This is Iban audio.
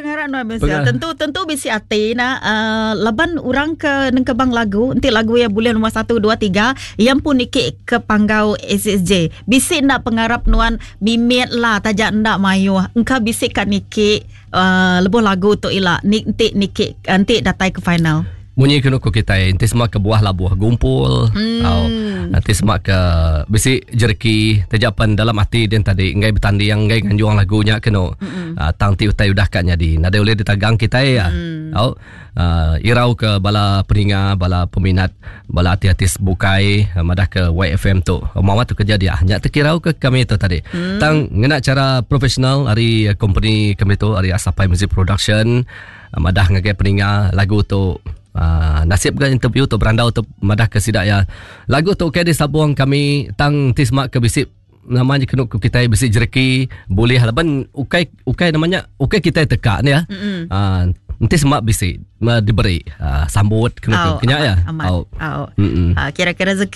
Pengarap nuan Michelle. Tentu tentu bisi ati na uh, laban orang ke nengkebang lagu enti lagu iya bulih nombor 1 2 3 iya pun niki ke panggau SSJ. Bisi enda pengarap nuan mimit lah taja enda mayuh engka bisi ka niki uh, lebuh lagu tu ila ni enti niki enti datai ke final. Munyi kenu ku kitai enti sema ke buah labuh gumpul hmm. tau enti sema ke bisi jereki taja pen dalam ati din tadi enggai betanding enggai nganjung lagu nya kenu hmm. uh, tang ti utai udah ka nyadi nadai ulih ditagang kitai ya hmm. tau uh, irau ke bala peninga bala peminat bala artis-artis bukai uh, madah ke YFM tu mawat tu kerja dia nya tekirau ke kami tu tadi hmm. tang ngena cara profesional ari company kami tu ari Asapai Music Production Madah ngagai peninga lagu tu uh, nasib ga interview tu berandau tu madah ke sida ya. Lagu tu ke disabung kami tang ti semak ke bisi nama nya kenu ku kitai bisi jereki bulih laban ukai ukai nama nya ukai kitai teka ni ya. Mm-hmm. Uh, enti semak bisi diberi uh, sambut kenu ku kenya ya. Au. Au. Uh, kira-kira rezeki.